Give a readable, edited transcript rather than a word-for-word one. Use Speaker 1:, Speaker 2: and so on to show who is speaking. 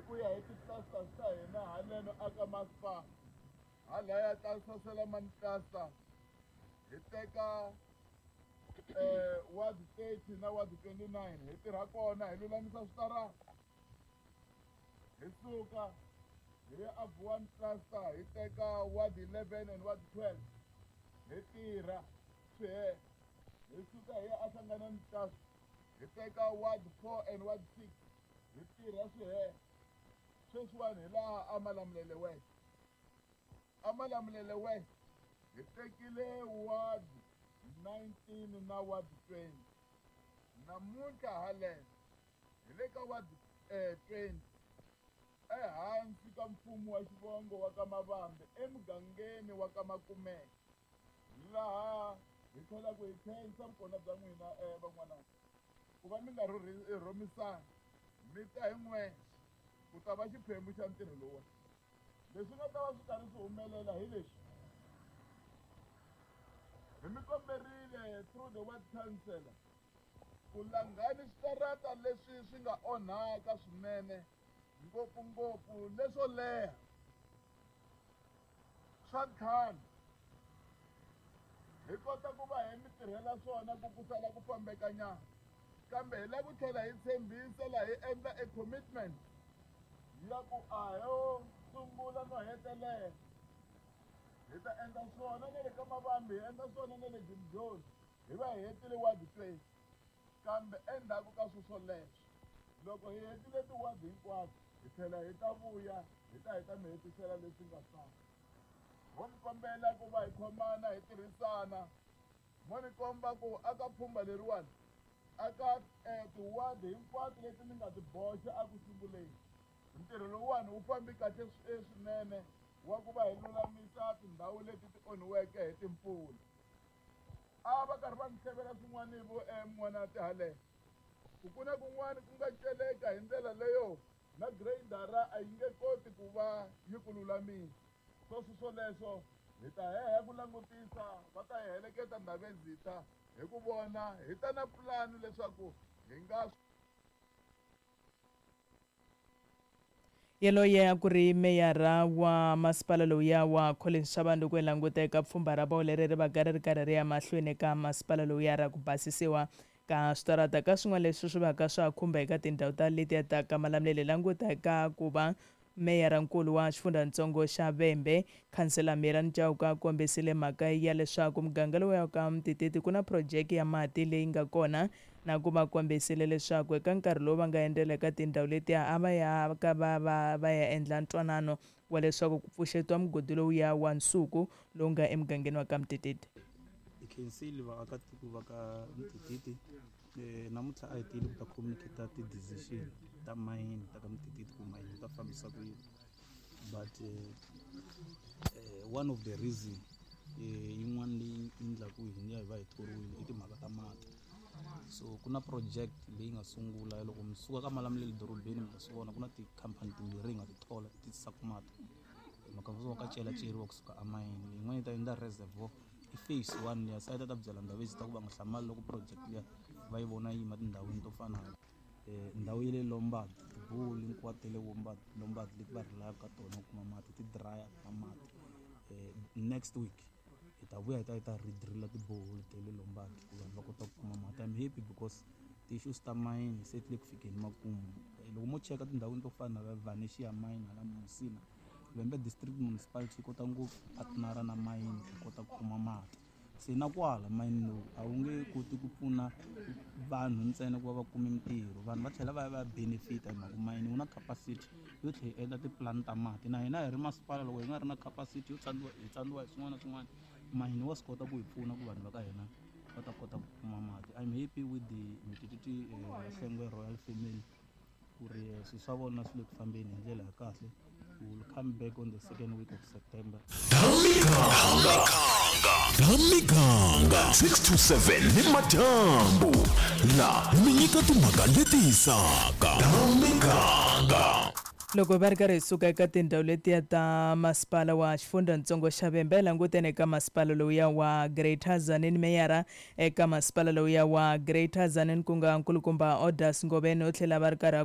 Speaker 1: ku ya hi ti-clusters ta hina haleno aka masipala. Halaya ta Saselamani cluster hi teka ward 30 na ward 29 hi tirha kona hi lulamisa switarata. Hi suka hi ya a Vuwani cluster hi teka ward 11 and ward 12 hi tirha swi hela. Hi suka hi ya aHlanganani cluster hi teka ward 4 and ward 6 hi tirha swi hela. Sweswiwani hi laha aMalamulele West. AMalamulele West hi tekile ward 19 na ward 20. Namuntlha haleno hi le ka ward 20 ehansi ka mfumo wa xivongo wa ka Mavambe emugangeni wa ka Makumeka, laha hi tlhelaku hi khensa vukona bya n'wina van'wana ku va mi nga rhumisani mi ta hi n'wexe ku ta va xiphemu xa ntirho lowuwani. Leswi nga ta va swi karhi swi humelela hi leswi hi mi komberile through the ward councillor ku langhani switarata leswi swi nga onhaka swinene, ngopfungopfu leswo leha swa ntlhanu, hi kota ku va hi mi tirhela swona ku ku sala ku fambeka nyana. Kambe hi lava ku tlhela hi tshembisa laha hi endla a commitment ya ku a ho sungula no hetelela. Hi ta endla swona na le ka Mavambi, hi endla swona na le Jimjoni, hi va hi hetile ward 20. Kambe endzhaku ka swo swoleswo, loko hi hetile tiwadi hinkwato, hi tlhela hi ta vuya hi ta hi ta mi hetisela leswi nga sala. Ho mi kombela ku va hi khomana hi tirhisana. Mo ni komba ku aka pfhumba leriwani aka tiwadi hinkwato leti ni nga ti boxa eku sunguleni, ntirho lowuwani wu fambi kahle swinene wa ku va hi lulamisa tindhawu leti ti onhiweke hi timpfula. A va karhi va ni hlevela swin'wana vo n'wana tihale ku ku na kun'wana ku nga celeka hi ndlela leyo na grader a yi nge koti ku va yi ku lulamisa. Sweswo swoleswo hi ta heha ku langutisa, va ta hi heleketa Ndhavezitha hi ku vona hi ta na pulani leswaku hi nga.
Speaker 2: Yaloye a ku ri meyara wa masipala lowuya wa Collins Chabane loko hi languta eka pfhumba ra vona leri ri va ka ri ri karhi ri ya mahlweni eka masipala lowuya ra ku basisiwa ka switarata. Ka swin'wana leswi swi va ka swa khumba eka tindhawu ta letiya ta ka Malamulele, languta eka ku va meyara-nkulu wa xifundzhantsongo xa Vhembe, Khansela Mirani Chauke, a kombisile mhaka ya leswaku muganga lowu ya ka Mtititi ku na phurojeke ya mati leyi nga kona, na ku va kombisile leswaku eka nkarhi lowu va nga endzela eka tindhawu letiya a va ya ka va va va ya endla ntwanano wa leswaku ku pfuxetiwa mugodi lowuya wa nsuku lowu nga emugangeni wa ka Mtititi.
Speaker 3: Hi khensile vaakatiko va ka Mtititi. Namuntlha a hi tile ku ta communicate ti-decision ta mayini ta ka Mtititi, ku mayini yi ta fambisa ku yini. But one of the reason yin'wana leyi endlaku hi ya hi va hi thoriwile i timhaka ta mati. So ku na project leyi nga sungula loko mi suka ka Malamulele dorobeni, mi ta swi vona ku na tikhampani timbirhi hi nga ti thola ti tisaka mati hi mhaka swo ka celaceriwa kusuka emayini. Leyin'wana yi ta endla reservoir, i phase one liya. Se a yi ta ta byela Ndhavezitha ku va nga hlamali loko project liya va yi vona yi yima tindhawini to fana na ndhawu ya le Lombard, tiborehole hinkwato ta le Lombard leti va rilaka ka tona ku kuma mati ti dry, a ti na mati. Next week hi ta vuya hi ta hi ta redrilla tiborehole ta le Lombard ku vanhu va kota ku kuma mati. I'm happy because ti-issues ta mayini se ti le ku fikeni makumu. Loko mo cheka tindhawini to fana na Venetia mine hala Musina, Vhembe District Municipality yi kota ngopfu partnera na mayini ku kota ku kuma mati. Se na kwala mayini lowu a wu nge koti ku pfuna vanhu ntsena ku va va kume mintirho, vanhu va tlhela va ya va ya benefita hi mhaka mayini wu na capacity yo tlhela yi endla tipulani ta mati. Na hina hi ri masipala, loko hi nga ri na capacity yo tsandziwa, hi tsandziwa hi swin'wana na swin'wana, mayini wa swi kota ku hi pfuna ku vanhu va ka hina va ta kota ku kuma mati. I'm happy with the Mtititi Hlengwe royal family ku ri swilo swa vona swi le ku fambeni hi ndlela ya kahle. We will come back on the second week of September.
Speaker 4: Miganga 6 to 7 ni madyambu la mi nyika timhaka leti hisaka Miganga.
Speaker 2: Loko va ri karhi hi suka eka tindhawu letiya ta masipala wa xifundzhantsongo xa Vhembe, hi langutene eka masipala lowuya wa Greater Tzaneen. Meyara eka masipala lowuya wa Greater Tzaneen, ku nga nkulukumba Odas Ngoveni, u tlhela va ri karhi a